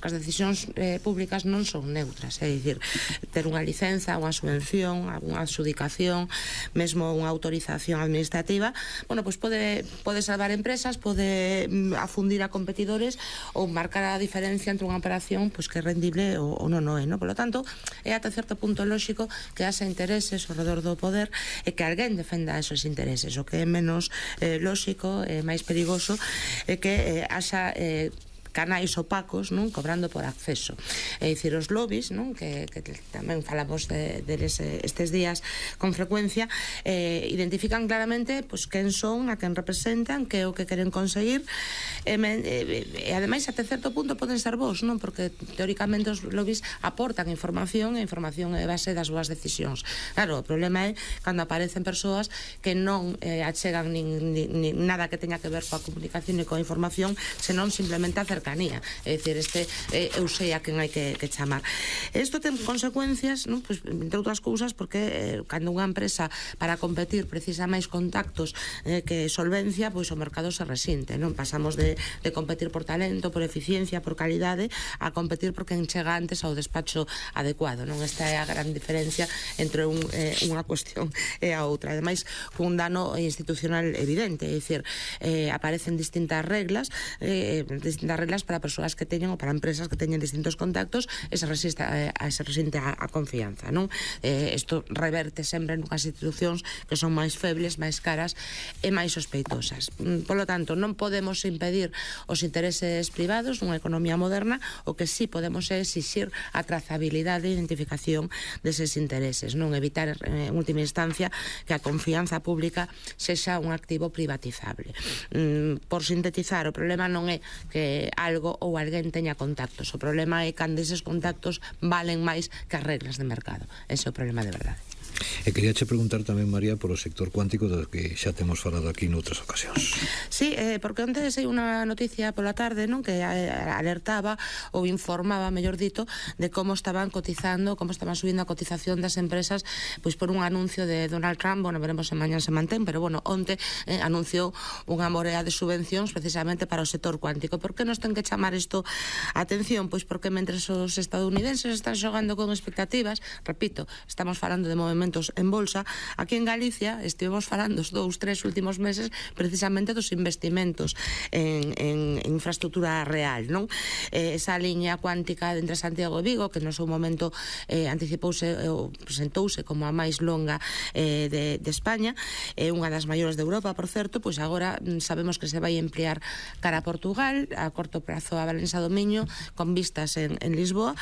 porque as decisións públicas non son neutras, é dicir, ter unha licenza, unha subvención, unha adxudicación, mesmo unha autorización administrativa, bueno, pois pode salvar empresas, pode afundir a competidores ou marcar a diferencia entre unha operación pois que é rendible ou non é, non? Por lo tanto, é ata certo punto lóxico que haxa intereses ao redor do poder e que alguén defenda esos intereses. O que é menos lóxico e máis perigoso é que haxa canais opacos, non, cobrando por acceso. É dicir, os lobbies, non, que tamén falamos deles estes días con frecuencia, identifican claramente pois quen son, a quen representan, que é o que queren conseguir, e ademais até certo punto poden ser vos, non, porque teóricamente os lobbies aportan información e a información é base das súas decisións. Claro, o problema é cando aparecen persoas que non achegan nin nada que teña que ver coa comunicación e coa información, senón simplemente a cercanía, é dicir, eu sei a quen hai que chamar. Isto ten consecuencias, non? Pois, entre outras cousas, porque cando unha empresa para competir precisa máis contactos que solvencia, pois o mercado se resinte, non? Pasamos de competir por talento, por eficiencia, por calidade, a competir por quen chega antes ao despacho adecuado, non? Esta é a gran diferencia entre unha cuestión e a outra. Ademais, un dano institucional evidente, é dicir, aparecen distintas reglas para persoas que teñen ou para empresas que teñen distintos contactos e se resiste a confianza, non? Isto reverte sempre nunhas institucións que son máis febles, máis caras e máis sospeitosas. Por lo tanto, non podemos impedir os intereses privados nunha economía moderna, o que sí podemos é exixir a trazabilidade e identificación deses intereses, non evitar en última instancia que a confianza pública sexa un activo privatizable. Por sintetizar, o problema non é que algo ou alguén teña contactos, o problema é cando eses contactos valen máis que as reglas de mercado. Ese é o problema de verdade. E quería che preguntar tamén, María, polo sector cuántico, do que xa temos falado aquí noutras ocasións. Sí, porque onte sei unha noticia pola tarde, non, que alertaba ou informaba, mellor dito, de como estaban cotizando, como estaban subindo a cotización das empresas, pois por un anuncio de Donald Trump. Bueno, veremos se mañán se mantén, pero bueno, onte anunciou unha morea de subvencións precisamente para o sector cuántico. Por que nos ten que chamar isto a atención? Pois porque mentres os estadounidenses están xogando con expectativas, repito, estamos falando de movementos en bolsa, aquí en Galicia estivemos falando os 2-3 últimos meses precisamente dos investimentos en infraestructura real, non? Esa liña cuántica entre Santiago e Vigo, que no seu momento anticipouse ou presentouse como a máis longa de España, unha das maiores de Europa, por certo, pois agora sabemos que se vai emplear cara a Portugal, a corto prazo a Valença do Miño, con vistas en Lisboa,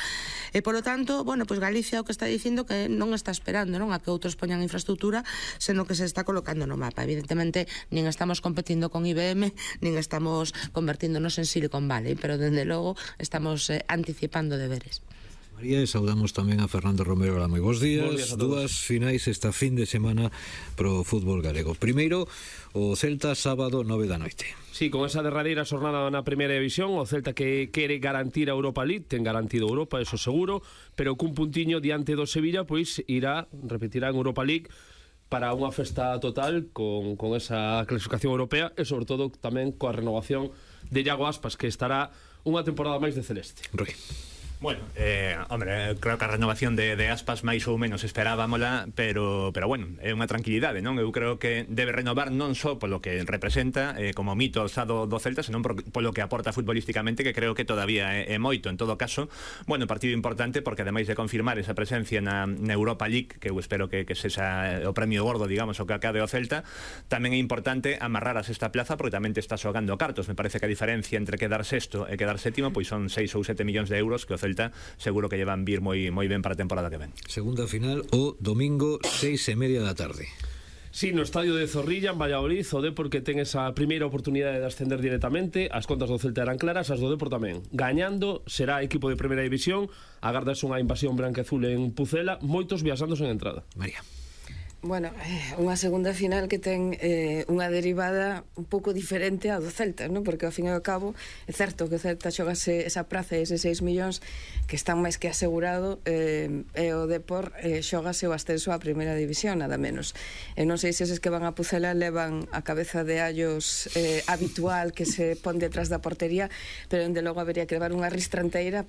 e polo tanto, bueno, pois Galicia o que está dicindo que non está esperando, non, a que outros poñan infraestructura, senón que se está colocando no mapa. Evidentemente, nin estamos competindo con IBM, nin estamos convertíndonos en Silicon Valley, pero dende logo estamos anticipando deberes. María, e saudamos tamén a Fernando Romero. Hola, moi bons días. Dúas finais esta fin de semana pro fútbol galego. Primeiro, o Celta, sábado 9 da noite. Sí, con esa derradeira xornada na primeira división, o Celta que quere garantir a Europa League, ten garantido Europa, eso seguro, pero cun puntiño diante do Sevilla, pois repetirá en Europa League para unha festa total con esa clasificación europea e sobre todo tamén coa renovación de Iago Aspas, que estará unha temporada máis de celeste. Rui. Bueno, hombre, creo que a renovación de Aspas máis ou menos esperábamola, pero bueno, é unha tranquilidade, non? Eu creo que debe renovar non só polo que representa como mito alzado do Celta, senón polo que aporta futbolísticamente, que creo que todavía é moito. En todo caso, bueno, partido importante porque ademais de confirmar esa presencia na Europa League, que eu espero que sexa o premio gordo, digamos, o que acabe o Celta, tamén é importante amarrar a sexta plaza porque tamén te está xogando cartos. Me parece que a diferencia entre quedar sexto e quedar sétimo pois son 6 ou 7 millóns de euros que o Celta seguro que llevan vir moi ben para a temporada que ven. Segunda final o domingo 6:30 da tarde. Sí, no estadio de Zorrilla, en Valladolid, o Depor que ten esa primeira oportunidade de ascender directamente. As contas do Celta eran claras, as do Depor tamén. Gañando, será equipo de primeira división. Agardas unha invasión branca e azul en Pucela, moitos viaxándose en entrada. María. Bueno, unha segunda final que ten unha derivada un pouco diferente a do Celta, non? Porque ao fin e ao cabo é certo que o Celta xogase esa praza e eses 6 millóns que están máis que asegurado, e o Depor xogase o ascenso á primeira división, nada menos. Non sei se eses que van a Pucela levan a cabeza de allos habitual que se pon detrás da portería, pero dende logo habería que levar unha ristranteira